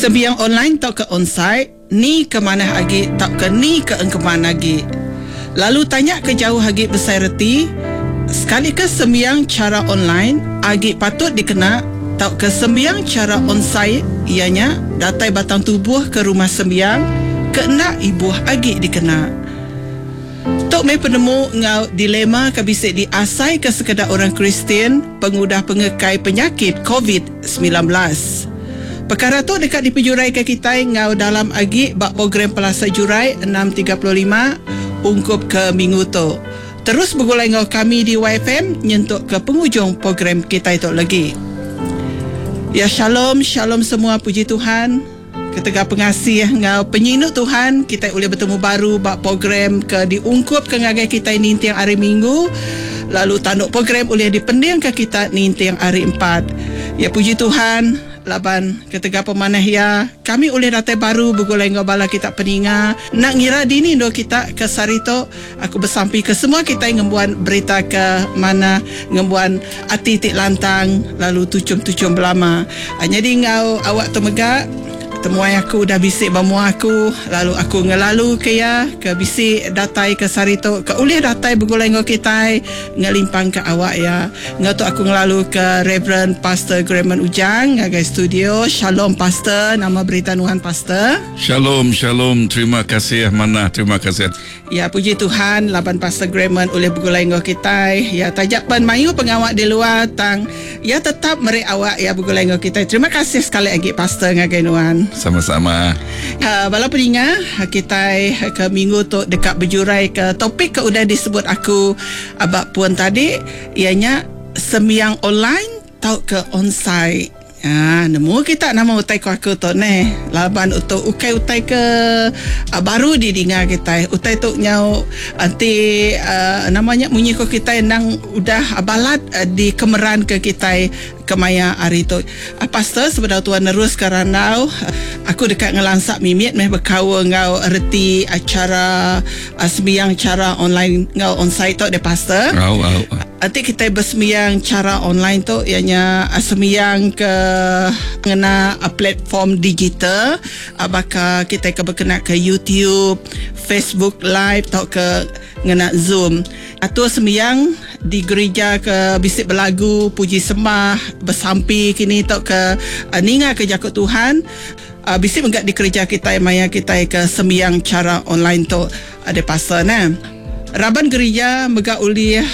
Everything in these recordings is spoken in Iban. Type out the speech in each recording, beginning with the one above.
Sembiang online tauka onsite, ni ke manah agi tauka ni ke engkeman agi? Lalu tanya ke jauh agi besai reti, sekalika sembiang chara online agi patut dikena tauka sembiang chara onsite iya nya datai batang tubuh ke rumah sembiang ke enda ibuh agi dikena. Tu meh penemu enggau dilema ke bisi diasaika sekeda orang Kristian pengudah pengekai penyakit Covid 19. Pekara tu deka dipejuraika kitai enggau dalam agi ba program Pelasa Jurai 6:35 ungkup ke minggu tu. Terus begulai enggau kami di WaiFm nyentuk ke pengujung program kitai tu legi. Ya shalom shalom semua puji Tuhan. Ketegal pengasih enggau penyinu Tuhan kitai ulih betemu baru ba program ke diungkupka ngagai kitai ninting Hari Minggu lalu tanduk program ulih dipendingka kita ninting Hari Empat. Ya puji Tuhan laban ketegal pemanah Iya kami ulih datai baru begulai enggau bala kita peninga enda ngira dini endur kita ke sehari tu. Aku besampi ke semua kitai ngembuan berita ke manah, ngembuan ati ti lantang lalu tuchum-tuchum belama. Nyadi enggau awak tu mega, temuai aku udah bisi ba mua aku lalu aku ngelaluka iya ke bisi datai ke sehari tu ke ulih datai begulai enggau kitai ngelimpangka awak iya. Enggau tu aku ngelaluka Reverend Pastor Gremon Ujang ngagai studio. Shalom Pastor, nama berita nuan Pastor? Shalom shalom terima kasih manah terima kasih. Ya puji Tuhan laban Pastor Gremon ulih begulai enggau kitai. Ya taja pen mayuh pengawa di luar tang iya tetap meri awak iya begulai enggau kitai. Terima kasih sekali agi Pastor ngagai nuan. Sama-sama. Uh, bala peninga kitai ke minggu tu deka bejurai ke topik ke udah disebut aku aba pun tadi iya nya sembiang online tauka onsite. Haa nemu kita nama utai ku aku tu neh laban utu ukai utai ke baru didinga kitai utai tu nyau enti uhh nama nya munyi ku kitai endang udah balat dikemeran ke kitai kemaya hari tu. Pastor sebedau tuan neruska randau aku deka ngelansa mimit meh bekaul enggau reti chara sembiang chara online enggau onsite tu deh pastor. Au au. Enti kitai besembiang chara online tu iya nya sembiang ke ngena platform digital baka kitai ke bekena ke YouTube, Facebook live tauka ngena Zoom. Atur sembiang di gerija ke bisi belagu, puji sembah, besampi kini tauka ninga ke jaku Tuhan bisi mega dikereja kitai maya kitai ke sembiang chara online tu. Adai pasal ne. Raban gerija mega ulih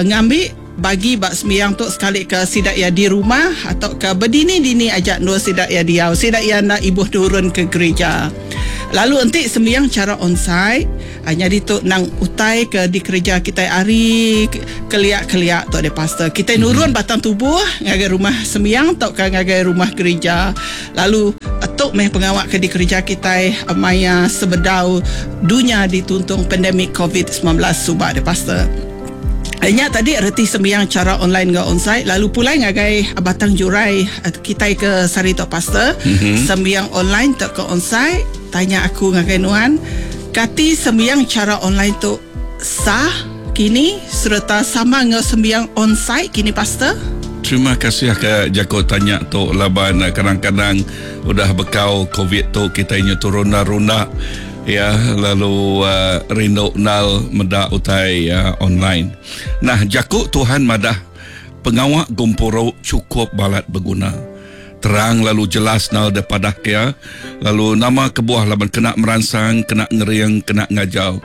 ngambi bagi ba sembiang tu sekalika sida iya di rumah atauka bedini-dini aja endur sida iya diau. Sida iya enda ibuh nurun ke gerija. Lalu enti sembiang chara onsite, nyadi tu endang utai ke dikereja kitai ari kelia-kelia tu deh pastor. Kitai nurun batang tubuh ngagai rumah sembiang tauka ngagai rumah gerija. Lalu tu meh pengawa ke dikereja kitai maya sebedau dunya dituntung pandemik covid 19 suba deh pastor. Nya tadi reti sembiang chara online enggau onsite lalu pulai ngagai batang jurai kitai ke sehari tu pastor. Sembiang online tauka onsite tanya aku ngagai nuan kati sembiang chara online tu sah kini sereta sama enggau sembiang onsite kini pastor? Terima kasih ke jaku tanya tu laban kadang-kadang udah bekau covid tu kitai nyu turunda-runda ya lalu rindu endal meda utai online. Nah jaku Tuhan madah pengawa gempuru chukup balat beguna. Terang lalu jelas nal deh padah ke iya lalu nama kebuah laban kena meransang kena ngering kena ngajar.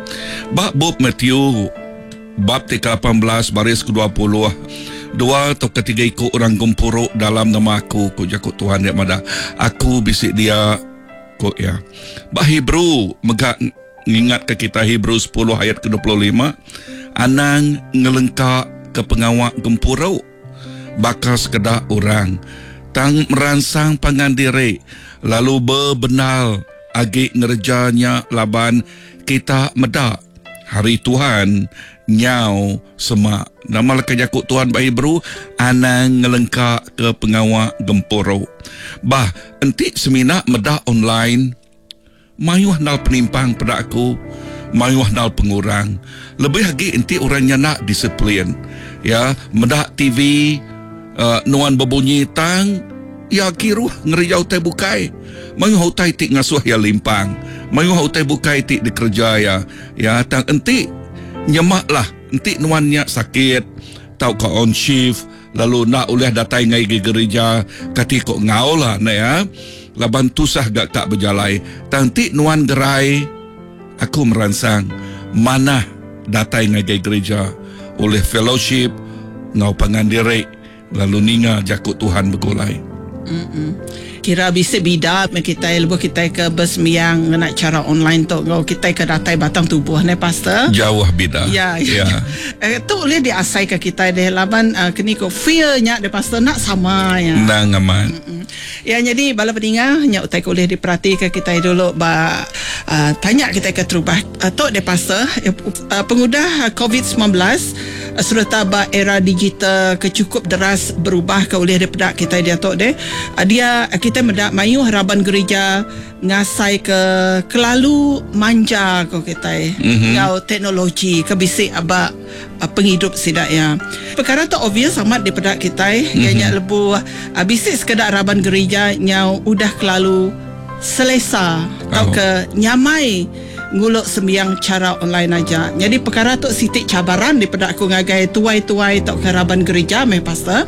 Ba bup Matthew bab ti ke 18 baris ke 20 dua tauka tiga iku orang gempuru dalam nama aku ku jaku Tuhan dia madah aku bisi dia ku iya. Ba Hebrew mega ngingatka kita Hebrew 10 ayat ke 25 anang ngelengka ke pengawa gempuru. Baka sekeda orang, tang meransang pangan diri lalu bebendar agi ngereja nya laban kita meda Hari Tuhan nyau semak. Nama leka jaku Tuhan ba Hebrew? Anang ngelengkaka pengawa gempuru. Bah, enti semina meda online, Mayuh endal penimpang peda aku, mayuh endal pengurang. Lebih agi enti orang nya enda disiplin. Ya, meda TV, nuan bebunyi tang. Iya kiruh ngereja utai bukai. Mayuh utai ti ngasuh iya limpang. Mayuh utai bukai ti dikereja iya. Ya, tang enti nyema lah, enti nuan nya sakit tauka on shift lalu enda ulih datai ngagai gerija, kati ko enggau lah enda ya. Laban tusah ga ka bejalai. Tang enti nuan gerai, aku meransang manah datai ngagai gerija ulih fellowship enggau pangan diri. Lalu ninga jaku Tuhan begulai. Kira bisi bida meh kitai lebuh kitai ke besembiang ngena chara online tu enggau kitai ke datai batang tubuh neh pastor. Jauh bida. Ya. Ya. Eh, tu ulih diasaika kitai deh laban uh, keni ko feel nya deh pastor enda sama ya. Endang amat. Ya nyadi bala peninga nya utai ke ulih diperatika kitai dulu ba uh, tanya kitai ke terubah uh, tu deh pastor uh, pengudah COVID-19 Sereta ba era digital ke chukup deras berubah ke ulih dipeda kitai diatu deh, dia kitai meda mayuh raban gerija ngasaika kelalu manja ko kitai enggau teknologi ke bisi ba pengidup sida iya. Pekara tu obvious amat dipeda kitai iya nya lebuh bisi sekeda raban gerija nyau udah kelalu selesa tauka nyamai ngulu sembiang chara online aja. Nyadi pekara tu siti cabaran dipeda aku ngagai tuai-tuai tauka raban gerija meh pastor.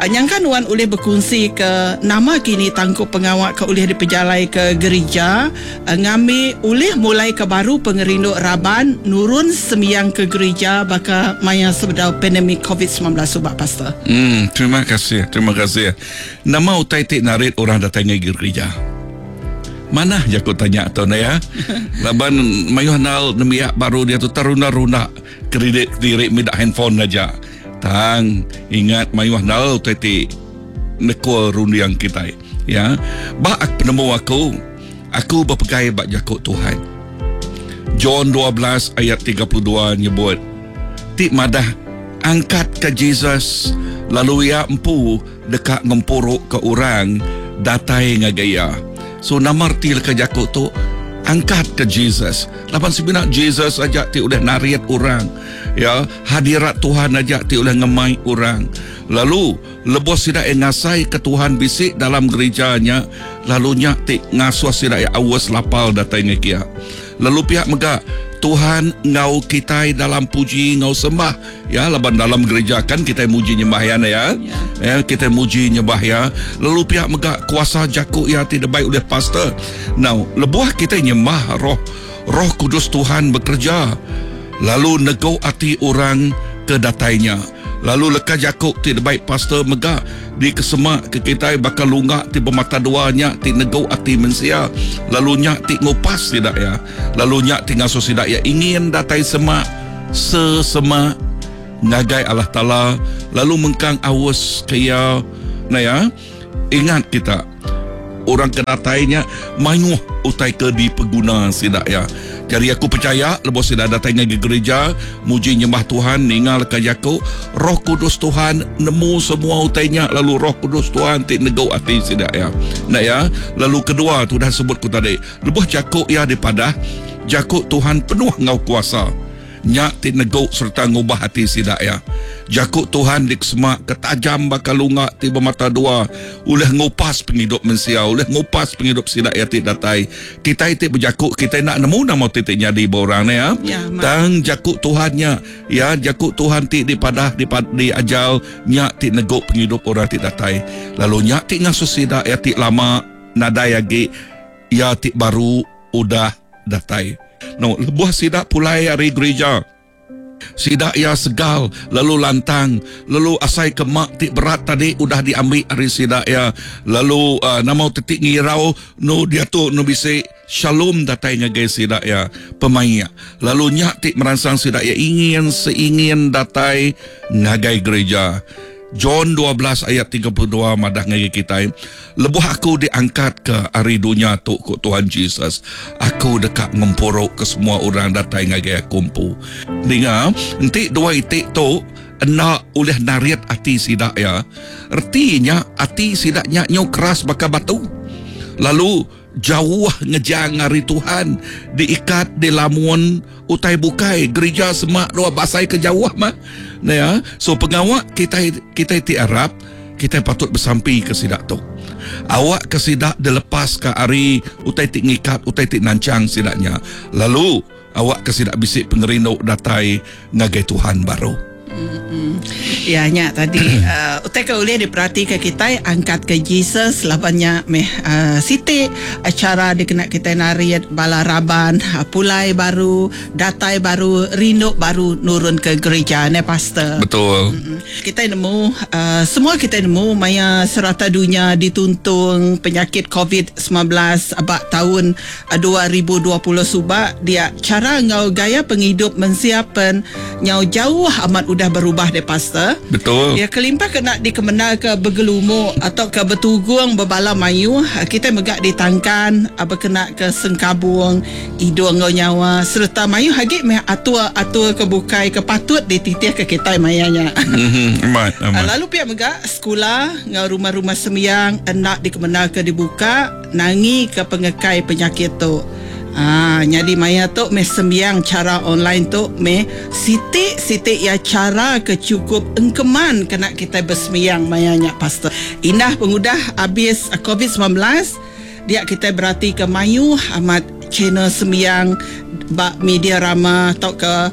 Nyangka nuan ulih bekunsi ke nama kini tangkup pengawa ke ulih dipejalai ke gerija ngambi ulih mulai ke baru pengerindu raban nurun sembiang ke gerija baka maya sebedau pandemik covid 19 suba pastor. Terima kasih, terima kasih. Nama utai ti narit orang datai ngagai gerija? Manah jaku tanya tu enda ya. Laban mayuh nal nembiak baru diatu terunda-runda kredit diri mida handphone aja. Tang ingat mayuh nal utai ti nekul runding kitai. Ya. Ba penemu aku, aku bepegai ba jaku Tuhan. John 12 ayat 32 nyebut ti madah angkatka Jesus lalu iya empu deka ngempuruka orang datai ngagai iya. So nama reti leka jaku tu? Angkatka Jesus. Laban semina Jesus aja ti ulih narit orang. Ya, hadirat Tuhan aja ti ulih ngemai orang. Lalu lebuh sida iya ngasaika Tuhan bisi dalam gerija nya, lalu nya ti ngasuh sida iya aus lapal datai ngagai iya. Lalu pia mega Tuhan enggau kitai dalam puji enggau sembah. Ya laban dalam gereja kan kitai muji nyembah iya ne ya. Ya kitai muji nyembah iya lalu pia mega kuasa jaku iya ti dibai ulih pastor. Now lebuh kitai nyembah roh roh kudus Tuhan bekereja lalu negu ati orang ke datai nya. Lalu leka jaku ti dibai pastor mega dikesema ke kitai baka lungga ti bemata dua nya ti negu ati mensia lalu nya ti ngupas sida iya lalu nya ti ngasuh sida iya ingin datai semak sesema ngagai Allah Taala lalu mengkang aus ke iya. Nah ya, ingat kita orang ke datai nya mayuh utai ke dipeguna sida iya. Jadi aku percaya lebuh sida datai ngagai gereja muji nyembah Tuhan ninga leka jaku Roh Kudus Tuhan nemu semua utai nya lalu Roh Kudus Tuhan ti negu ati sida iya. Nah ya, lalu kedua tu udah sebut ku tadi lebuh jaku iya dipadah jaku Tuhan penuh enggau kuasa. Nya ti negu sereta ngubah ati sida iya. Jaku Tuhan dikesema ke tajam baka lunga ti bemata dua, ulih ngupas pengidup mensia, ulih ngupas pengidup sida iya ti datai. Kitai ti bejaku kitai enda nemu nama ti ti nyadi ba orang ne ya. Tang jaku Tuhan nya, ya jaku Tuhan ti dipadah diajar nya ti negu pengidup orang ti datai. Lalu nya ti ngasuh sida iya ti lama nadai agi iya ti baru udah datai. No, lebuh sida pulai ari gerija, sida iya segal lalu lantang, lalu asai ke mak ti berat tadi udah diambi ari sida iya. Lalu uh, nama ti ti ngirau nu diatu nu bisi shalom datai ngagai sida iya pemaik. Lalu nya ti meransang sida iya ingin seingin datai ngagai gerija. John 12 ayat 32 madah ngagai kitai, Lebuh aku diangkatka ari dunya tu, ku Tuhan Jesus, aku deka ngempuruka semua orang datai ngagai aku empu. Ninga, enti dua iti tu enda ulih narit ati sida iya, reti nya ati sida nya nyau keras baka batu. Lalu jauh ngejang ari Tuhan, diikat dilamun utai bukai, gerija semak dua basai ke jauh mah. Nya, so pengawa kitai kitai ti arap. Kitai patut besampi ke sida tu. Awak ke sida dilepas ke ari utai ti ngikat, utai ti nanchang sida nya. Lalu awak ke sida bisi pengerindu datai ngagai Tuhan baru. Ya nya tadi utai ke ulih diperatika kitai angkat ke Jesus laban nya meh siti chara dikena kitai narit bala raban pulai baru datai baru rindu baru nurun ke gerija neh pastor. Betul. Kitai nemu semua kitai nemu maya serata dunya dituntung penyakit covid 19 ba taun 2020 suba dia chara enggau gaya pengidup mensia pen nyau jauh amat udah berubah deh pastor. Betul. Ya kelimpah kena dikemendarka begelumu tauka betugung bebala mayuh kitai mega ditangkan bekena ke sengkabung idung enggau nyawa sereta mayuh agi meh atur-atur ke bukai ke patut dititihka kitai maya nya. Amat amat. Lalu pia mega sekula enggau rumah-rumah sembiang enda dikemendarka dibuka. Nangi ke pengekai penyakit tu. Aa nyadi maya tu meh sembiang chara online tu meh siti siti iya chara ke chukup engkeman kena kitai besembiang maya nya pastor. Indah pengudah abis covid 19 dia kitai berati ke mayuh amat channel sembiang ba media rama tauka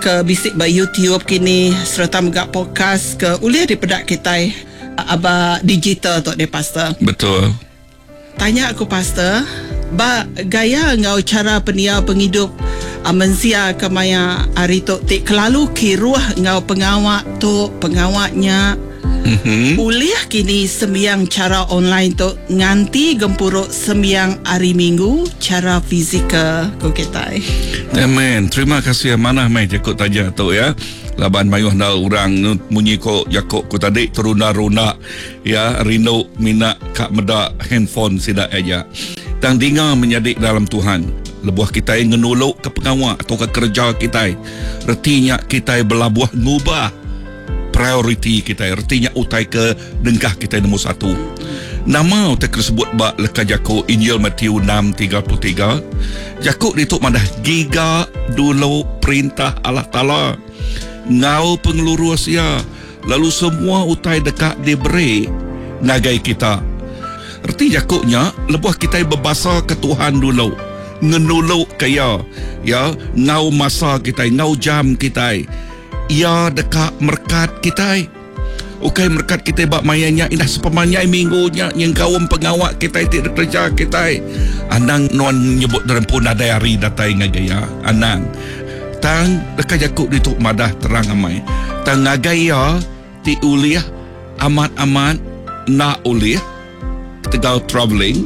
ke bisi ba YouTube kini sereta mega podcast ke ulih dipeda kitai. Aba digital tu deh pastor. Betul. Tanya aku pastor, ba gaya enggau chara pendiau pengidup mensia ke maya hari tu ti kelalu kiruh enggau pengawa tu pengawa nya, ulih kini sembiang chara online tu nganti gempuru sembiang hari minggu chara fizikal ku kitai. Amen. Terima kasih manah meh jaku tanya tu ya. Laban mayuh enda orang munyi ko jako ku tadi terunda-runda ya rindu mina ka meda handphone sida aja. Tang dinga menyadi dalam Tuhan lebuh kitai ngenulu ke pengawa atau ke kerja kitai reti nya kitai belabuh ngubah prioriti kitai reti nya utai ke dengkah kitai nombor satu. Nama utai ke disebut ba leka jako Injil Matthew 6:33? Jako ditu madah giga dulu perintah Allah Taala enggau pengelurus iya lalu semua utai deka diberi ngagai kita. Reti jako nya lebuh kitai bebasa ke Tuhan dulu, ngenulu ke iya, ya enggau masa kitai enggau jam kitai, iya deka merekat kitai. Ukai merekat kitai ba maya nya indah sepemanjai minggu nya nyengkaum pengawa kitai ti dikereja kitai. Anang nuan nyebut diri empu nadai hari datai ngagai iya. Anang. Tang deka jaku ditu madah terang amai. Tang ngagai iya ti ulih amat-amat enda ulih ketegal travelling.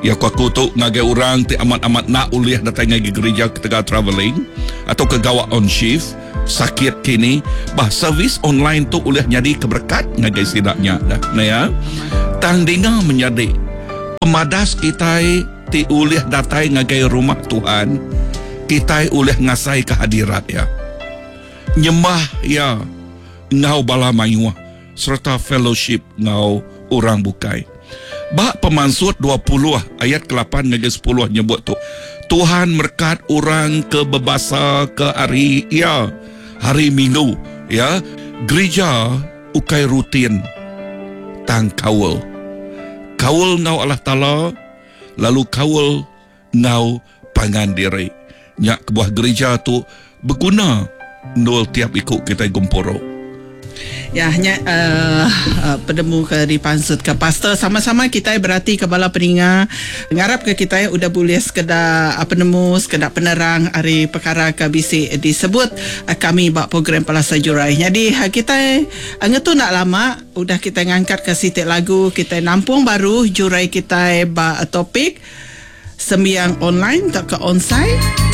Iya ku aku tu ngagai orang ti amat-amat enda ulih datai ngagai gerija ketegal travelling atau ke gawa on shift. Sakit kini, bah servis online tu ulih nyadi ke berekat ngagai sida nya dah. Nah ya. Tang dinga menyadi pemadas kitai ti ulih datai ngagai rumah Tuhan, kitai ulih ngasai ke hadirat iya. Nyembah iya enggau bala mayuh sereta fellowship enggau orang bukai. Ba Pemansut 20 ayat kelapan ngagai 10 nyebut tu, Tuhan merekat orang ke bebasa ke hari iya, hari Minggu, ya. Gerija ukai rutin tang kaul. Kaul enggau Allah Taala lalu kaul enggau pangan diri. Nya kebuah gerija tu beguna endur tiap iku kitai gempuru. Ya nya uhh penemu ke dipansutka pastor. Sama-sama kitai beratika bala peninga ngarapka kitai udah bulih sekeda penemu sekeda penerang ari pekara ke bisi disebut kami ba program Palasa Jurai. Nyadi kitai ngetu enda lama udah kitai ngangkatka siti lagu kitai nampung baru jurai kitai ba topik. Sembiang online tauka onsite.